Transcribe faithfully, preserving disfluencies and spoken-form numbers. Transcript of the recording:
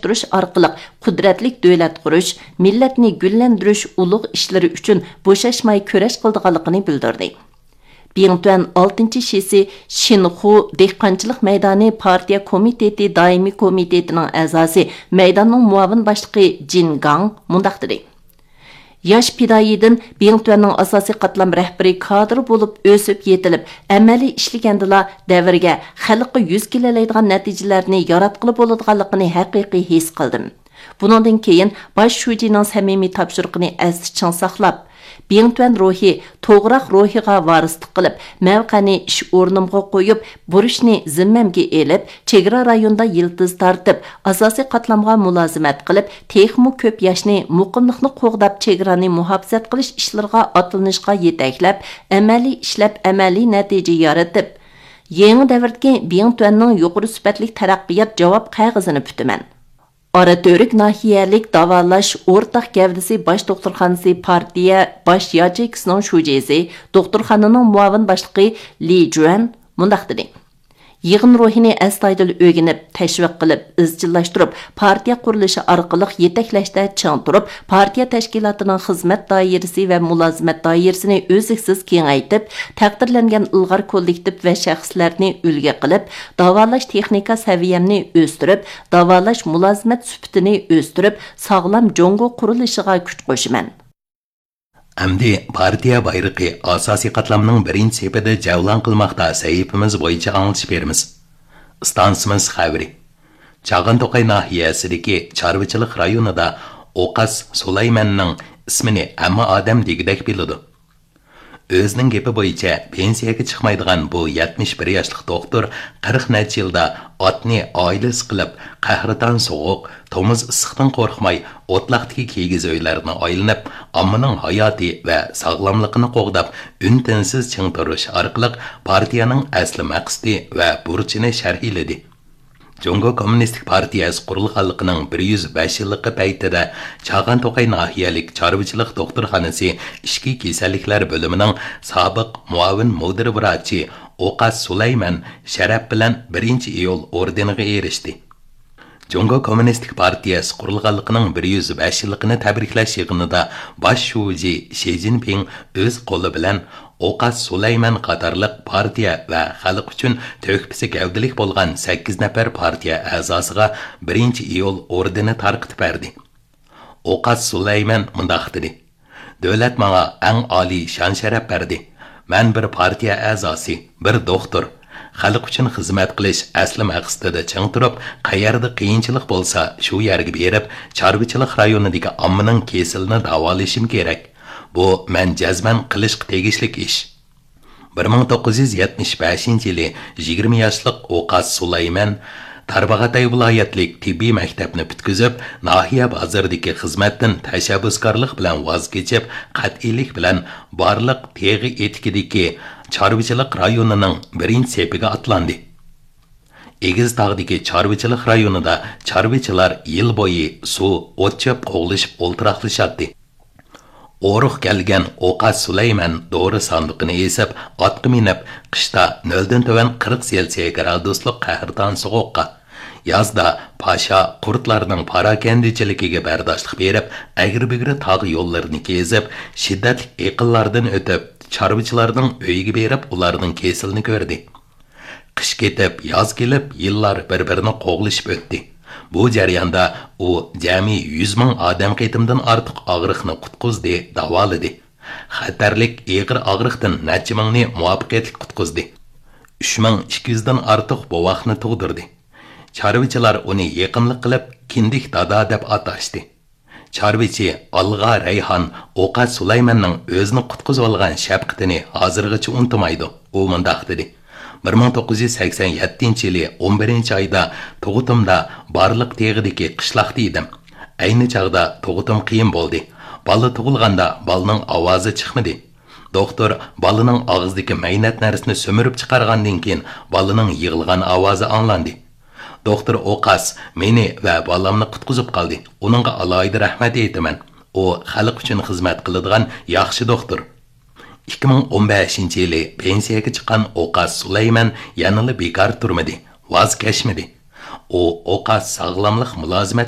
ئۇتتۇرۇش ئارقىلىق قۇدرەتلىك دۆلەت قۇرۇش، مىللەتنى گۈللەندۈرۈش ئۇلۇغ ئىشلىرى ئۈچۈن بوشاشماي كۈرەش قىلىدىغانلىقىنى بىلدۈردى. بىڭتۈەن ئالتىنچى شىسى شىنخۇ دېھقانچىلىق مەيدانى پارتىيە كومىتېتى دائىمىي كومىتېتىنىڭ ئەزاسى، مەيداننىڭ مۇئاۋىن باشلىقى جىن گاڭ مۇنداق دېدى: ياش پىدائىيدىن بىڭتۈەننىڭ ئاساسىي قاتلام رەھبىرى كادىر بولۇپ ئۆسۈپ يېتىلىپ، ئەمەلىي ئىشلىگەندىلا دەۋرگە، خەلققە يۈز كېلەلەيدىغان نەتىجىلەرنى ياراتقىلى بولىدىغانلىقىنى ھەقىقىي ھېس قىلدىم. بۇنىڭدىن كېيىن باش شۇجىنىڭ سەمىمىي تاپشۇرۇقىنى ئەستە چىڭ ساقلاپ، بىڭتۈەن روھى توغراق روھىغا ۋارىسلىق قىلىپ، مەۋقەنى ئىش ئورنۇمغا قويۇپ، بۇرچنى زىممەمگە ئېلىپ، چېگرا رايونىدا يىلتىز تارتىپ، ئاساسىي قاتلامغا مۇلازىمەت قىلىپ، تېخىمۇ كۆپ ياشنى مۇقىملىقنى قوغداپ، چېگرانى مۇھاپىزەت قىلىش ئىشلىرىغا ئاتلىنىشقا يېتەكلەپ، ئەمەلىي ئىشلەپ، ئەمەلىي نەتىجە يارىتىپ، يېڭى دەۋردىكى بىڭتۈەننىڭ يۇقىرى سۈپەتلىك تەرەققىيات جاۋاب قەغىزىنى پۈتىمەن. ئاراتۈرك ناھىيەلىك داۋالاش ئورتاق گەۋدىسى باش دوختۇرخانىسى پارتىيە باش ياچېيكىسىنىڭ شۇجىسى، دوختۇرخانىنىڭ مۇئاۋىن باشلىقى لى جۈەن مۇنداق دېدى: يىغىن روھىنى ئەستايىدىل ئۆگىنىپ، تەشۋىق قىلىپ، ئىزچىللاشتۇرۇپ، پارتىيە قۇرۇلۇشى ئارقىلىق يېتەكلەشتە چىڭ تۇرۇپ، پارتىيە تەشكىلاتىنىڭ خىزمەت دائىرىسى ۋە مۇلازىمەت دائىرىسىنى ئۈزلۈكسىز كېڭەيتىپ، تەقدىرلەنگەن ئىلغار كوللېكتىپ ۋە شەخسلەرنى ئۈلگە قىلىپ، داۋالاش تېخنىكا سەۋىيەمنى ئۆستۈرۈپ، داۋالاش مۇلازىمەت سۈپىتىنى ئۆستۈرۈپ، ساغلام جۇڭگو قۇرۇلۇشىغا كۈچ قوشىمەن. ئەمدى پارتىيە بايرىقى ئاساسىي قاتلامنىڭ بىرىنچى سېپىدە جەۋلان قىلماقتا سەھىپىمىز بويىچە ئاڭلىتىش بېرىمىز. ئىستانسىمىز خەۋىرى. چاغان توقاي ناھىيەسىدىكى چارۋىچىلىق رايونىدا ئوقاس سۇلايماننىڭ ئىسمىنى ھەممە ئادەم دېگۈدەك بىلىدۇ. ئۆزىنىڭ گېپى بويىچە، پېنسىيەگە چىقمايدىغان بۇ يەتمىش بىر ياشلىق دوختۇر قىرىق نەچچە يىلدا ئاتنى ئائىلىسى قىلىپ، قەھرىتان سوغۇق، تومۇز ئىسسىقتىن قورقماي، ئوتلاقتىكى كىگىز ئۆيلەرنى ئايلىنىپ، ئاممىنىڭ ھاياتى ۋە ساغلاملىقىنى قوغداپ، ئۈن-تىنسىز چىڭ تۇرۇش ئارقىلىق پارتىيەنىڭ ئەسلى مەقسىتى ۋە بۇرچىنى شەرھلىدى. جۇڭگو كوممۇنىستىك پارتىيەسى قۇرۇلغانلىقىنىڭ بىر يۈز بەش يىللىقى پەيتىدە چاغان توقاي ناھىيەلىك چارۋىچىلىق دوختۇرخانىسى ئىچكى كېسەللىكلەر بۆلۈمىنىڭ سابىق مۇئاۋىن مۇدىر ۋراچى ئوقاس سۇلايمەن شەرەپ بىلەن بىرىنچى ئىيۇل ئوردېنىغا ئېرىشتى. جۇڭگو كوممۇنىستىك پارتىيەسى قۇرۇلغانلىقىنىڭ بىر يۈز بەش يىللىقىنى تەبرىكلەش يىغىنىدا باش شۇجى شى جىنپىڭ ئۆز قولى بىلەن ئوقاس سۇلايمەن قاتارلىق پارتىيە ۋە خەلق ئۈچۈن تۆھپىسى گەۋدىلىك بولغان سەككىز نەپەر پارتىيە ئەزاسىغا بىرىنچى ئىيۇل ئوردېنى تارقىتىپ بەردى. ئوقاس سۇلايمەن مۇنداق دېدى: دۆلەت ماڭا ئەڭ ئالىي شان-شەرەپ بەردى. مەن بىر پارتىيە ئەزاسى، بىر دوختۇر. خەلق ئۈچۈن خىزمەت قىلىش ئەسلى مەقسىتىدە چىڭ تۇرۇپ، قەيەردە قىيىنچىلىق بولسا، شۇ يەرگە بېرىپ، چارۋىچىلىق رايونىدىكى ئاممىنىڭ كېسىلىنى داۋالىشىم كېرەك. بۇ مەن جەزمەن قىلىشقا تېگىشلىك ئىش. بىر مىڭ توققۇز يۈز يەتمىش بەشىنچى يىلى يىگىرمە ياشلىق ئوقاس سۇلايمەن تارباغاتاي ۋىلايەتلىك تېببىي مەكتەپنى پۈتكۈزۈپ، ناھىيە بازىرىدىكى خىزمەتتىن تەشەببۇسكارلىق بىلەن ۋاز كېچىپ، قەتئىيلىك بىلەن بارلىق تېغى ئېتىكىدىكى چارۋىچىلىق رايونىنىڭ بىرىنچى سېپىگە ئاتلاندى. ئېگىز تاغدىكى چارۋىچىلىق رايونىدا چارۋىچىلار يىل بويى سۇ، ئوت-چۆپ قوغلىشىپ ئولتۇراقلىشاتتى. ئورۇق كەلگەن ئوقاس سۇلايمەن دورا ساندۇقىنى ئېسىپ، ئاتقا مىنىپ، قىشتا نۆلدىن تۆۋەن قىرىق سېلسىيە گرادۇسلۇق قەھرىتان سوغۇققا، يازدا پاشا قۇرتلارنىڭ پاراكەندىچىلىكىگە بەرداشلىق بېرىپ، ئەگرى-بۈگرى تاغ يوللىرىنى كېزىپ، شىددەتلىك ئېقىنلاردىن ئۆتۈپ، چارۋىچىلارنىڭ ئۆيىگە بېرىپ، ئۇلارنىڭ كېسىلىنى كۆردى. قىش كېتىپ، ياز كېلىپ، يىللار بىر-بىرىنى قوغلىشىپ ئۆتتى. بۇ جەرياندا ئۇ جەمئىي يۈز مىڭ ئادەم قېتىمدىن ئارتۇق ئاغرىقنى قۇتقۇزدى، داۋالىدى. خەتەرلىك ئېغىر ئاغرىقتىن نەچچە مىڭنى مۇۋەپپەقىيەتلىك قۇتقۇزدى. ئۈچ مىڭ ئىككى يۈزدىن ئارتۇق بوۋاقنى تۇغدۇردى. چارۋىچىلار ئۇنى يېقىملىق قىلىپ، كىندىك دادا دەپ ئاتاشتى. چارۋىچى ئالغا رەيھان ئوقاس سۇلايماننىڭ ئۆزىنى قۇتقۇزۇۋالغان شەپقىتىنى ھازىرغىچە ئۇنتۇمايدۇ. ئۇ مۇنداق دېدى: بىر مىڭ توققۇز يۈز سەكسەن يەتتىنچى يىلى ئون بىرىنچى ئايدا تۇغۇتۇمدا بارلىق تېغىدىكى قىشلاقتا ئىدىم. ئەينى چاغدا تۇغۇتۇم قىيىن بولدى. بالا تۇغۇلغاندا بالىنىڭ ئاۋازى چىقمىدى. دوختۇر بالىنىڭ ئاغزىدىكى مەينەت نەرسىنى سۈمۈرۈپ چىقارغاندىن كېيىن، بالىنىڭ يىغلىغان ئاۋازى ئاڭلاندى. دوختۇر ئوقاس مېنى ۋە بالامنى قۇتقۇزۇپ قالدى. ئۇنىڭغا ئالاھىدە رەھمەت ئېيتىمەن. ئۇ خەلق ئۈچۈن خىزمەت قىلىدىغان ياخشى دوختۇر. ئىككى مىڭ ئون بەشىنچى يىلى پېنسىيەگە چىققان ئوقاس سۇلايمەن يەنىلا بىكار تۇرمىدى، ۋاز كەچمىدى. ئۇ ئوقاس ساغلاملىق مۇلازىمەت